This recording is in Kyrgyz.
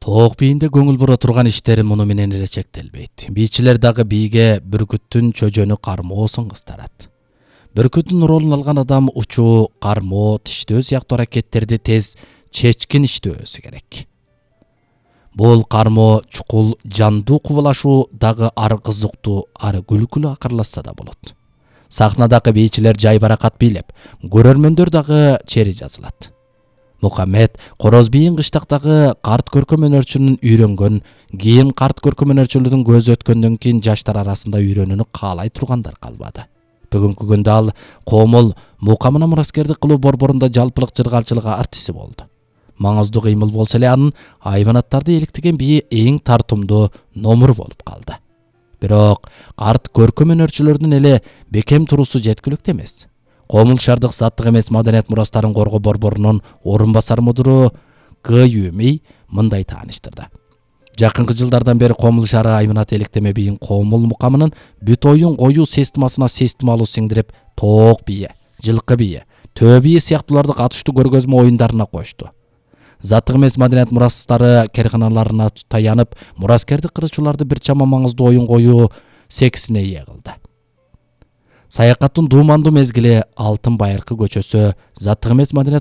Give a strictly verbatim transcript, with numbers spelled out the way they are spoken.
Тоок бийинде көңүл бура турган иштери муну менен эле чектелбейт. Бийчилер дагы бийге бүркүттүн чөжөнү кармоо сыңгыстырат. Бүркүттүн ролун алган адам учуу, кармоо, тиштөө сыяктуу аракеттерди тез чечкин иштөөсү керек. Бул кармоо чукул, жандуу кубулашуу дагы ары кызыктуу, ары күлкүлүү акырлашса да болот. Сахнадагы бийчилер жай баракат бийлеп, көрөрмөндөр дагы чери жазылат. Мухаммед короз бийин кыштактагы карт көркөм өнөрчүнүн үйрөнгөн, кийин карт көркөм өнөрчүлөрдүн көзү өткөндөн кийин жаштар арасында үйрөнүүнү каалай тургандар калбады. Бүгүнкү күндө ал Коомол Мукамына мураскердик кылуу борборунда жалпылык жыргалчылык артисти болду. Маңыздуу кыймыл болсо эле анын айванаттарды эликтеген бийи эң тартымдуу номур болуп калды. Бирок карт көркөм өнөрчүлөрдүн эле бекем туруусу жеткиликтүү эмес. Коомул шаардык заттык эмес маданият мурастарын коргоо борборунун орун басар мудуру Г. Юмей мындай тааныштырды. Жакынкы жылдардан бери Коомул шаары айванат электеме бийин Коомул Мукамынын бүт оюн коюу системасына системалуу сиңдирип, тоок бийи, жылкы бийи, төө бийи сыяктууларды катыштуу көргөзмө оюндарына кошту. Заттык эмес маданият мурастары керканаларына таянып, мураскердик кырычууларды бир чама маңыздуу оюн коюу сексине ээ кылды. Саякаттын дуумандуу мезгили Алтын Байыркы көчөсү Заттык эмес маданият